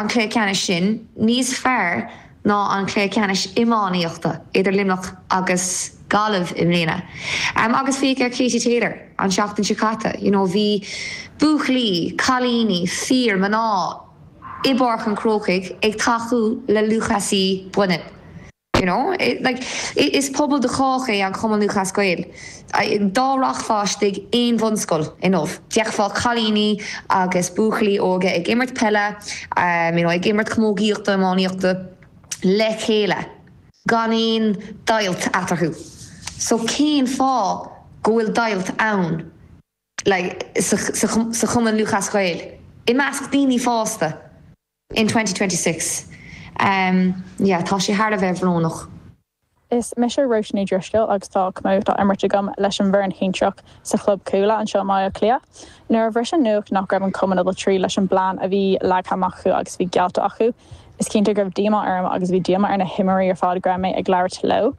An cluiche ceannais sin níos fearr ná an cluiche ceannais iománaíochta idir Luimneach agus Gaillimh i mbliana. Agus féach ar Katie Taylor an tseachtain seo caite, you know bhí buachaillí, cailíní, fir, mná i bPáirc an Chrócaigh ag tacú le lúthchleasaí baineann. You know? Like, is pobal do chách é an Cumann Lúthchleas Gael. Dá rachfá istigh aon bhunscoil inniu, d'fheicfeá cailíní agus buachaillí óga ag imirt peile, you know, ag imirt camógaíochta, iománaíochta le chéile, gan aon deighilt eatarthu. So cén fáth go bhfuil deighilt ann, like, sa, sa, sa Chumann Lúthchleas Gael, i measc daoine fásta? In 2026 yeah tá sé thar a bheith bhrónach. Is mise Róise Ní Dhrisceoil agus tá camógaíocht á imirt agam leis an bhfoireann shinsearach sa chlub Cuala anseo i mBaile Átha Cliath. Nuair a bhris an nuacht nach raibh an cumann ag dul tríd leis an bplean a bhí leagtha amach acu agus a bhí geallta acu, is cinnte go raibh díomá orm agus bhí díomá ar na himreoirí ar fad go raibh mé ag labhairt leo.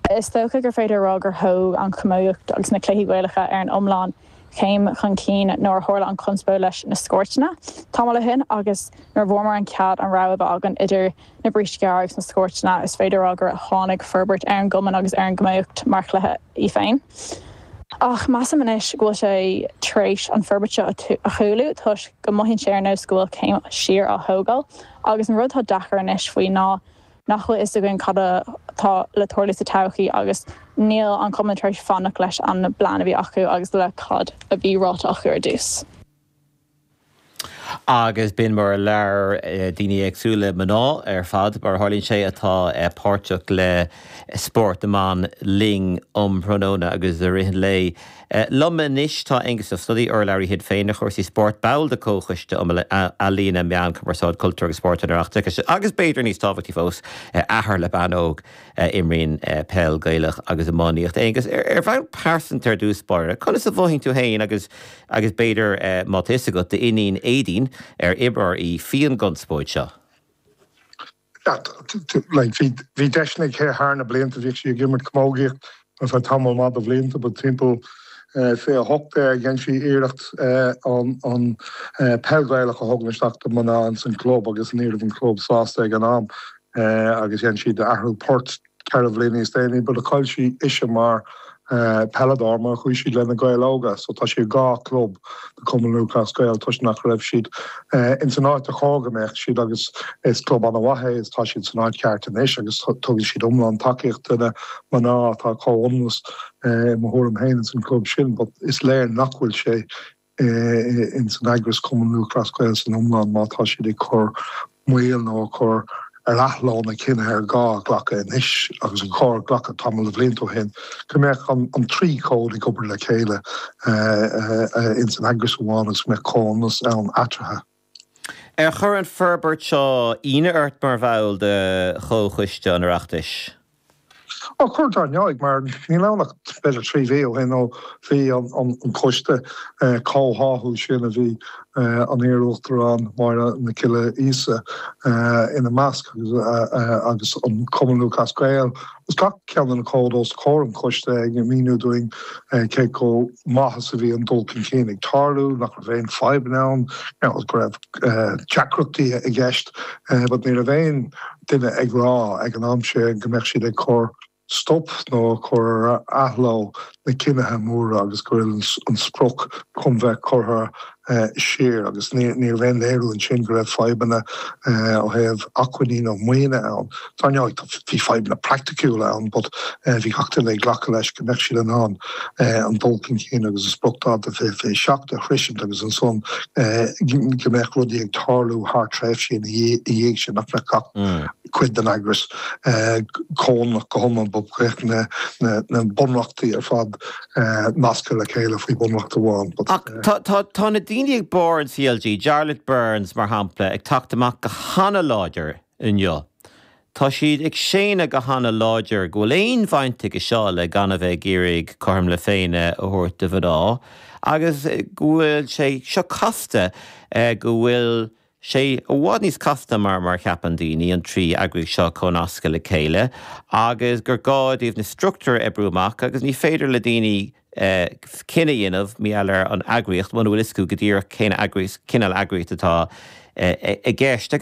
Is dócha gur féidir a rá gur thóg an chamógaíocht agus na cluichí Gaelacha ar an iomlán chéim chun cinn nuair a tharla an chonspóid leis na scórtanna tamall ó shin agus nuair a bhfuaireamar an cead an rogha a bheith againn idir na brístí gearra agus na scórtanna, is féidir a rá gur tháinig forbairt ar an gcumann agus ar an gcamógaíocht mar chluiche í féin. Ach measaim anois go bhfuil sé tar éis an forbairt seo a chúlú toisc go mothaíonn sé ar nós go bhfuil céim siar á thógáil agus an rud atá deacair anois faoi ná nach bhfuil fhios againn cad atá le tarlú sa todhchaí agus níl an cumann tar éis fanacht leis an bplean a bhí acu agus le cad a bhí ráite acu ar dtús. Agus b'in mar a labhair daoine éagsúla, mná ar fad mar a tharlaíonn sé, atá páirteach le spórt na mban linn um thráthnóna agus i rith an lae. Liom anois tá Aengus Ó Snodaigh, urlabhraí Shinn Féin ar chúrsaí spóirt, ball de Chomhchoiste um Ealaíona, Meán, Cumarsáid, Cultúr agus Spórt an Oireachtais agus b'fhéidir níos tábhachtaí fós, athair le bean óg a imríonn peil Gaelach agus iománaíocht. Aengus, ar bhonn pearsanta ar dtús báire, conas a mhothaíonn tú féin agus agus b'fhéidir má tá fhios agat, d'iníon Aedín, ar imreoir í, faoin gconspóid seo? Bhí deiseanna aici thar na blianta, bhíodh sí ag imirt camógaíocht ar feadh tamall maith de bhlianta, but timpeall 2018 dhein sí iarracht an peil Ghaelach a thógaint isteach do mná ins an club agus ní raibh an club sásta ag an am agus dhein siad athrú poirt. 4 bhliain níos déanaí, but chaill sí ise mar peileadóir mar chuaigh siad le na Gaeil Óga so tá sí i 2 club de Cumann Lúthchleas Gael toisc nach raibh siad ins an áit a chóir go mbeadh siad agus is club ana-mhaith é is tá siad san áit cheart anois agus tugann siad iomlán tacaíocht do na mná atá comhionannas i mo thuairim féin ins an club sin but is léir nach bhfuil sé ins an eagras Cumann Lúthchleas Gael san iomlán má tá siad ag cur moill nó ag cur ar athló na cinnithe ar gá a ghlacadh anois agus a chóir glacadh tamall de bhlianta ó shin go mbeadh an 3 chód ag obair le chéile ins an eagras amháin agus go mbeadh comhionannas ann eatarthu. Ar chuir an forbairt seo ionadh ort mar bhall de Chomhchoiste an Oireachtais? Ó, chuir dar ndóigh, mar níl ann ach b'fhéidir 3 mhí ó shin ó bhí an coiste comhtháthú sin a bhí an iar-uachtarán Máire Nic Giolla Íosa ina measc agus an Cumann Lúthchleas Gael agus gach ceann de na cóid os comhair an choiste ag míniú dúinn cé chomh maith is a bhí an dul chun cinn ag tarlú, nach raibh aon fadhbanna ann, go raibh deacrachtaí i gceist but ní raibh aon duine ag rá ag an am sin go mbeadh siad ag cur stop nó ag cur ar athló na cinnithe móra agus go bhfuil an sprioc chun bheith curtha siar agus ní raibh aon léiriú ansin go raibh fadhbanna ó thaobh acmhainní nó maoine ann. Dar ndóigh bhí fadhbanna praiticiúla ann but bhí gach duine ag glacadh leis go mbeadh siad in ann an dul chun cinn agus an spriocdháta 2027 a shroisint agus ansan go mbeadh rudaí ag tarlú thar tréimhsí ina dhiaidh sin, nach mbeadh gach cuid den eagras comhionannach go hiomlán but go mbeadh na bunreachtaí ar fad nasctha le chéile faoi bhunreacht amháin. Ach tá na daoine ag barr an CLG, Jarlath Burns mar shampla, ag teacht amach go hana-láidir inniu. Tá siad ag séanadh go hana-láidir go bhfuil aon bhaint aige seo le gan a bheith ag iarraidh cothrom na Féinne a thabhairt do mhná agus go bhfuil sé seo casta, go bhfuil sé i bhfad níos casta mar mar a cheapann daoine, an 3 eagraíocht seo a chónascadh le chéile agus gur gá dóibh na struchtúir a oibriú amach agus ní féidir le daoine cinneadh a dhéanamh mar gheall ar an eagraíocht muna bhfuil fhios acu go díreach cén eagraíocht, cineál eagraíocht atá. i gceist. Agus.